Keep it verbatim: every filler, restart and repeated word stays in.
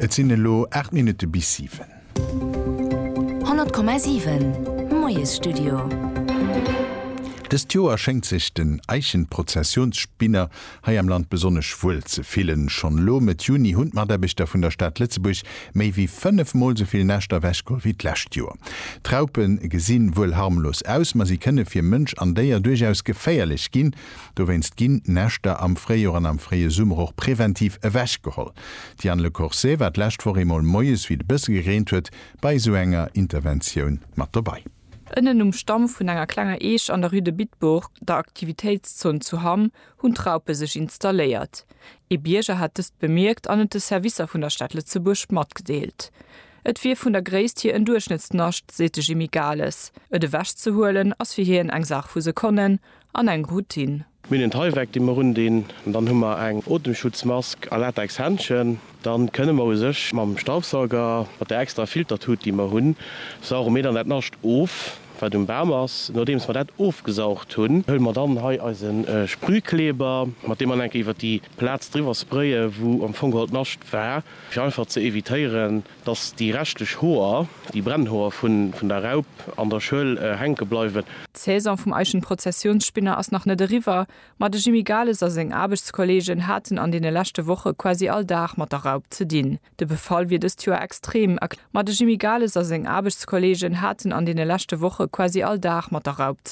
Et sinn elo aacht Minutte bis siwen. honnert Komma siwen Moiesstudio. Dëst Joer schéngt sech den Eichenprozessionsspinner hei am Land besonnesch wuel ze fillen. Schonn elo Mëtt Juni hunn d'Mataarbechter vun der Stad Lëtzebuerg méi wéi fënnef Mol esou vill Näschter ewechgeholl wéi d'lescht Joer. D'Raupe gesinn wuel harmlos aus, ma si kënne fir Mënsch an Déier duerchaus geféierlech ginn. Dowéinst ginn Näschter am Fréijoer an am fréie Summer och preventiv ewechgeholl. D'Diane Le Corset war d'lescht Woch eemol moies, wéi et e bësse gereent huet, bei esou enger Interventioun mat dobäi. Ënnen um Stamm vun enger klenger Eech an der Rue de Bitbourg, der Aktivitéitszon zu Hamm, hunn d'Raupe sech installéiert. Ee Bierger hat dëst bemierkt an et de Servicer vun der Stad Lëtzebuerg matgedeelt. Et wier vun der Gréisst hier en Duerchschnëttsnascht, seet de Jimmy Gales. Et ewechzehuelen ass fir hien eng Saach vu Sekonnen an eng Routine. Mir hunn en Tyvek, dee mer undinn, an dann hu mer eng Otemschutzmask a Latexhändschen. Dann kënne mer u sech mam Staubsauger, mat der extra Filtertut, déi mer hunn, sauge mir dann dat Nascht of, wat um Bam ass. Nodeems mer dat ofgesaugt hunn, huele mer dann hei eise Sprühkleber, mat deem mer eng Kéier iwwer déi Plaz driwwer sprayen, wou am Fong geholl d'Nascht war, fir einfach ze evitéieren, dass déi reschtlech Hoer, déi Brennhoer vun der Raup an der Schuel hänke bleiwen. D'Saison vum Eichenprozessionsspinner ass nach net eriwwer, ma de Jimmy Gales a seng Aarbechtskolleegen haten an deene leschte Woche quasi all Dag mat der Raup ze dinn. De Befall wier dëst Joer extrem, ma de Jimmy Gales a seng Aarbechtskolleegen haten an deene leschte Woche quasi all Dag mat der Raup